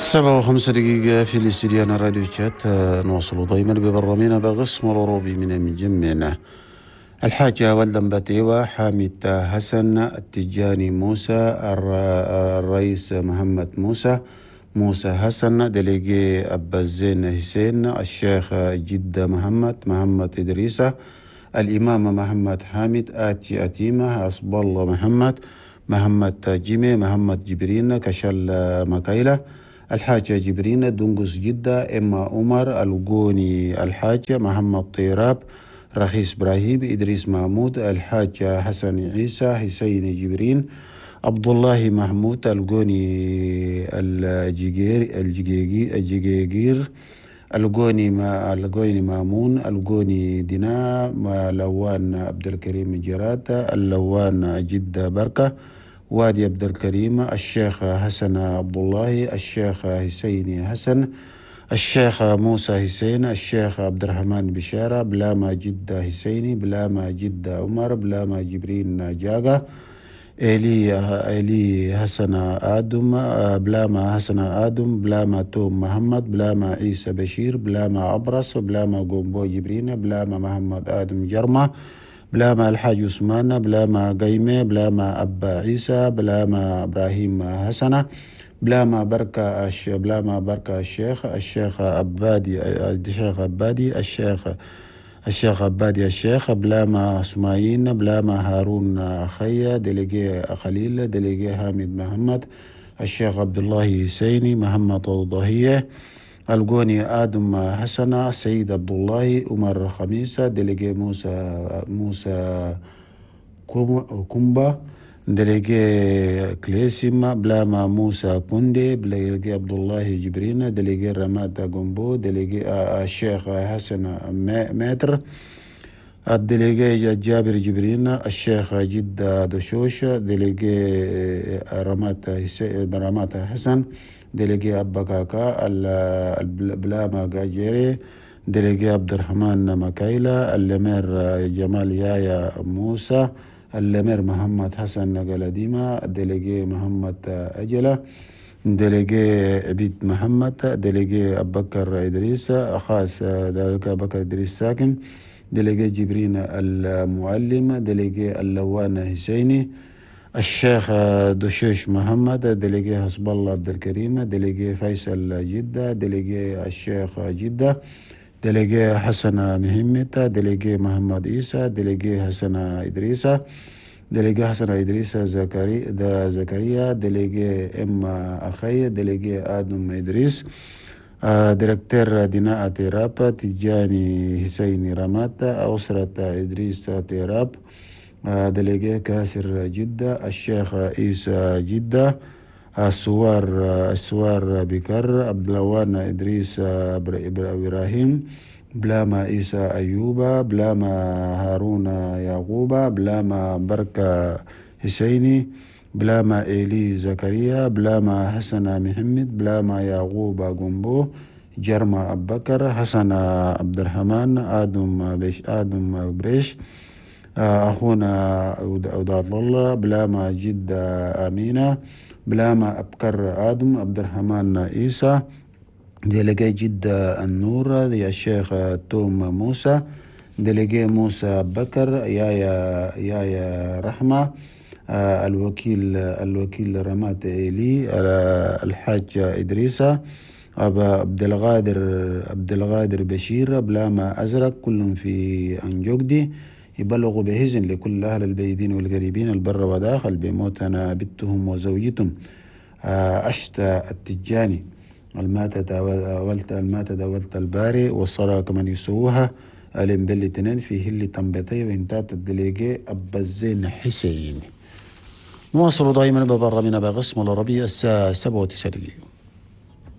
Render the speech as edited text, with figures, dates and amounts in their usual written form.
7:05 في الاستديان راديو تشات. نواصل دائما ببرامجنا بقسم الأوروبي من مجمعنا. الحاجة ولدن بتيوة، حامد حسن، التجاني موسى، الرئيس محمد موسى، موسى حسن، délégué أبا الزين حسين، الشيخ جدة محمد، محمد إدريسة، الإمام محمد حامد، آتي أتيمة، حسب الله محمد، محمد جيمي، محمد جبرين، كشل مكايلة، الحاج جبرين، دنقس جدة، إما عمر، الجوني الحاج، محمد طيراب، رخيص إبراهيم، إدريس محمود، الحاج حسن عيسى، حسين جبرين، عبد الله محمود، الجوني الجيجير الجيجير، الجوني ما الجوني مامون، الجوني دينا، لوان عبد الكريم جرات، اللوان جدة بركة، وادي عبد الكريم، الشيخ حسن عبد الله، الشيخ حسين حسن، الشيخ موسى حسين، الشيخ عبد الرحمن بشارة، بلاما جدة حسيني، بلاما جدة عمر، بلاما جبرين جاغا، إلي حسن آدم، بلاما حسن آدم، بلاما توم محمد، بلاما عيسى بشير، بلاما عبرس، بلاما قومبو جبرين، بلاما محمد آدم جرمة، بلاما الحاج عثمان، بلاما قيمة، بلاما أبا عيسى، بلاما إبراهيم حسنة، بلاما بركة بلاما بركة الشيخ، الشيخ عبادي، الشيخ عبادي، الشيخ عبادي الشيخ، بلاما اسماعيل، بلاما هارون خيا، délégué خليل، délégué حامد محمد، الشيخ عبد الله حسيني، محمد الضهية، الجوني آدم حسنة، سيد عبد الله، عمر خميسة، délégué موسى كومبا، délégué كليسيما، بلاما موسى كوندي، délégué عبد الله جبرين، délégué رماد جومبو، délégué الشيخ حسن ماتر، ال délégué جابر جبرين، الشيخ جدة دشوش، délégué رمات حسن، délégué أبا كاكا، بلاما جاجيري، délégué عبد الرحمن مكايلة، اللمير جمال يايا موسى، اللمير محمد حسن قلديمة، délégué محمد أجلة، délégué عبيد محمد، délégué أبكر إدريس خاص، délégué أبكر إدريس ساكن، délégué جبرين المعلم، délégué اللوان حسيني، الشيخ دشوش محمد، délégué حسب الله عبد الكريم، délégué فيصل جدة، délégué الشيخ جدة، délégué حسن مهمت، délégué محمد عيسى، délégué حسن إدريس، délégué حسن إدريس زكريا، délégué إم أخي، délégué آدم إدريس، directeur ديناء تيراب، تجاني حسين رمات، أسرة إدريس تيراب، délégué كاسر جدة، الشيخ عيسى جدة، السوار بكر، عبد اللوان إدريس إبراهيم، بلاما عيسى أيوبا، بلاما هارون يعقوبا، بلاما بركة حسيني، بلاما إيلي زكريا، بلاما حسن محمد، بلاما يعقوب جنبو، جرما أبكر، حسن عبد الرحمن، آدم بيش، آدم بريش، أخونا عوداد الله، بلاما جدة أمينة، بلاما أبكر آدم، عبد الرحمن عيسى، délégué جدة النور، يا الشيخ توم موسى، délégué موسى بكر، يا رحمة، الوكيل رمات إيلي، الحاج إدريسة، أبا عبد القادر بشير، بلاما أزرق، كلهم في أنجوكدي. يبلغوا بهزن لكل أهل البيدين والقريبين البر وداخل بموتنا بنتهم وزوجتهم أشتا التجاني الماتة دولت الباري والصلاة كمان يسووها الامبلي تنين في هلي تنبتي وانتات الدليجي أبا الزين حسين. نواصل دائما ببرامجنا بقسم العربية الساعة 7:09.